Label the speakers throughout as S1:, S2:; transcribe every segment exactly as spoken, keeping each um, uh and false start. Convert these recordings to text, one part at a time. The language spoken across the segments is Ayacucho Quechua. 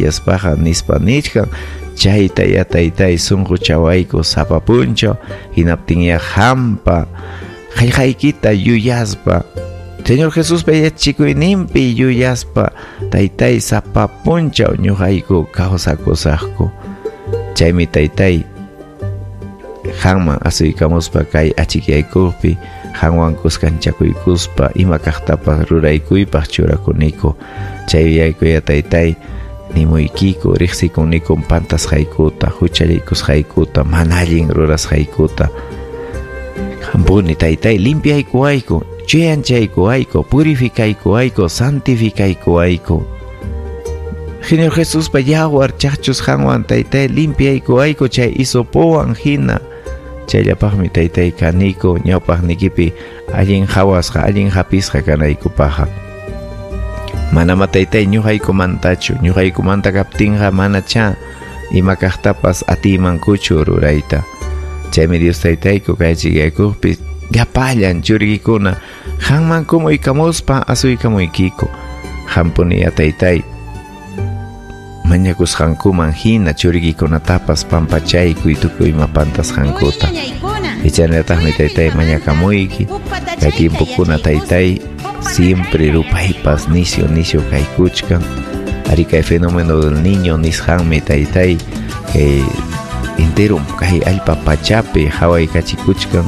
S1: achikyaspaqa nispa nichkan. Chayta ya taytay sunquchawayku sapa punchaw, hinaptinya hampa qillqaykita yuyaspa, Señor Jesuspa yachachikuyninpi yuyaspa taytay sapa punchaw ñuqayku kawsakusaqku. Chaymi taytay qanman asuykamuspa kay achikyaykuqpi qanwan kuskanchakuykuspa ima kaqtapas ruraykuypaq churakuniku. Chay yuyaykuya taytay nimuykiku, riqsikunikum pantasqaykuta, huchallikusqaykuta, mana allin rurasqaykuta. Qampuni taytay limpiaykuwayku, chuyanchaykuwayku, purificaykuwayku, santificaykuwayku. Señor Jesuspa yawar chaqchusqanwan taytay limpiaykuwayku chay hisopowan hina. Chayllapaqmi taytay kaniku ñawpaqnikipi allin hawasqa, allin hapisqa kanaykupaqqa. Manama taytay ñuqaykumantachu, ñuqaykumanta kaptinqa manacha ima kaqtapas atiymankuchu rurayta. Chaymi Dios taytayku kay achikyaykupis llapallan churiykikuna qanman kumuykamuspa asuykamuykiku. Qampuniya taytay mañakusqankuman hina churiykikunatapas pampachaykuy tukuy ima pantasqankuta. Ichanataqmi taytay mañakamuyki kay tiempokuna taytay siempre rupaypas nisio nisio kaykuchkan. Ari kay fenómeno del niño nisqanmi taytay kay entero kay allpa pachapi hawaykachikuchkan.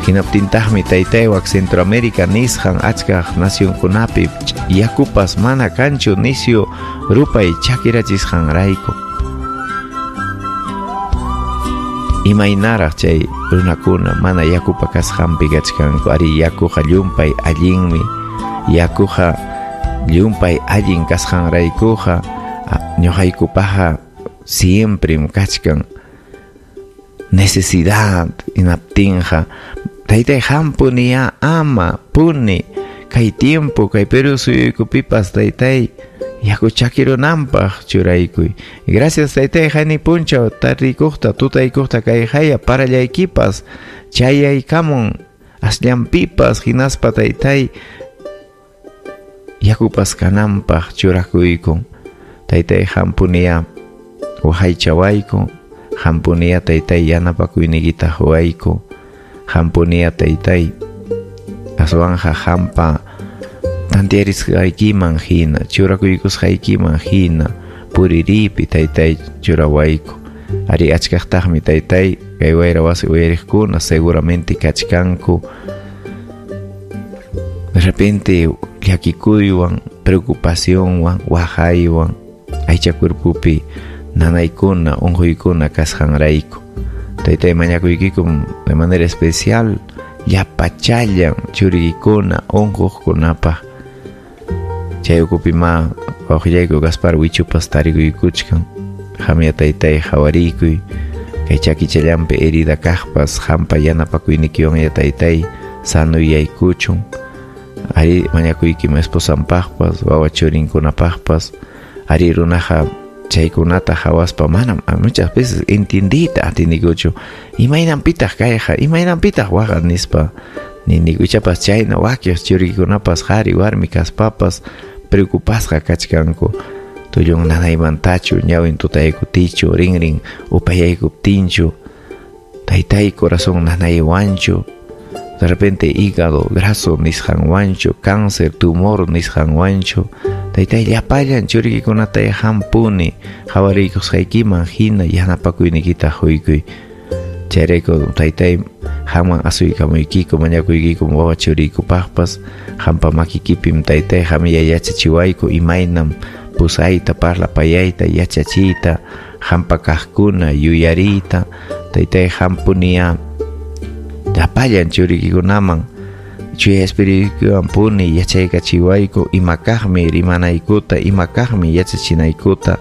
S1: Hinaptintaqmi taytay wak Centroamérica nisqan achkaq nacionkunapi yakupas mana kanchu nisio rupay chakirachisqanrayku. Imaynaraq chay runakuna mana yakupa kasqanpi kachkanku. Ari yakuqa llumpay allinmi, yakuqa llumpay allin kasqanraykuqa ñuqaykupaqa siemprem kachkan necesidad. Hinaptinqa taytay hampuniya ama puni kay tiempo kay Perú suyuykupipas taytay yaku chakirunanpaq churaykuy. Gracias taytay hayni punchaw tarrikuqta tutaykuqta kay haya parallaykipas chayaykamun asllanpipas hinaspa taytay yakupas kananpaq churakuykun. Taytay hampuniya waqaychawayku, hampuniya taytay yanapakuyniykita huwayku, hampuniya taytay aswanja hampa tantiarisqaykiman hina, churakuykusqaykiman hina puriripi taytay churawayku. Ari achkaqtaqmi taytay kay wayra wasi uyariqkuna seguramente kachkanku de repente llakikuywan, preocupacionwan, waqaywan aycha cuerpopi nanaykuna, unquykuna kasqanrayku. Taytay mañakuykikum de manera especial llapachallan churiykuna unquqkunapaq. Chay ukupi ma wawqillayku Gaspar Wichupas tarikuykuchkan. Qamya taytay hawarikuy kay chakichallanpi herida kaqpas hampa yanapakuynikiwan ya taytay sanuyaykuchun. Ari mañakuykim esposanpaqpas, wawa churinkunapaqpas. Ari runaqa chaykunata hawaspa manam muchas veces entendita atinikuchu imaynanpitaq kayqa, imaynanpitaq waqa nispa niniku. Ichapas chayna wakiq churiykunapas qhari warmi kaspapas preocupasqa kachkanku. Tullun nanaymantachu, ñawin tutaykutichu, rinrin upayaykuptinchu, taytay corazón nanaywanchu, de repente hígado graso nisqanwanchu, cáncer, tumor nisqanwanchu. Taytay llapallan churiykikunata hampuni hawariykusqaykiman hina yanapakuyniykita huykuy. Chayrayku taytay haman asuykamuykiku mañakuykiku wawa churiykupaqpas hampa makikipim taytay hamiya yachachiwayku imaynam pusayta, parlapayayta, yachachiyta, hampa kaqkuna yuyariyta. Taytay hampuniya llapallan churiykikunaman chuya espirituwan puni yachaykachiwayku ima kaqmi rimanaykuta, ima kaqmi yachachinaykuta.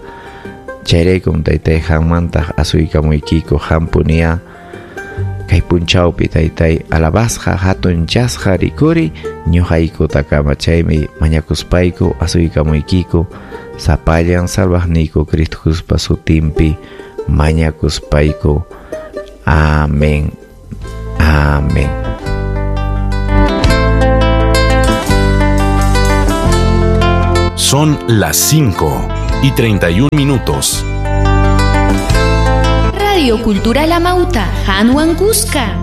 S1: Chayraykum taytay qanmantaq asuykamuykiku hampuniya kay punchawpi taytay alabasqa hatunchasqa rikuri ñuqaykutakama. Chaymi mañakuspayku asuykamuykiku sapallan salvaqniyku Cristo Jesuspa sutinpi mañakuspayku. Amén. Amén.
S2: Son las cinco y treinta y un minutos.
S3: Radio Cultural Amauta, Hanwan Cusca.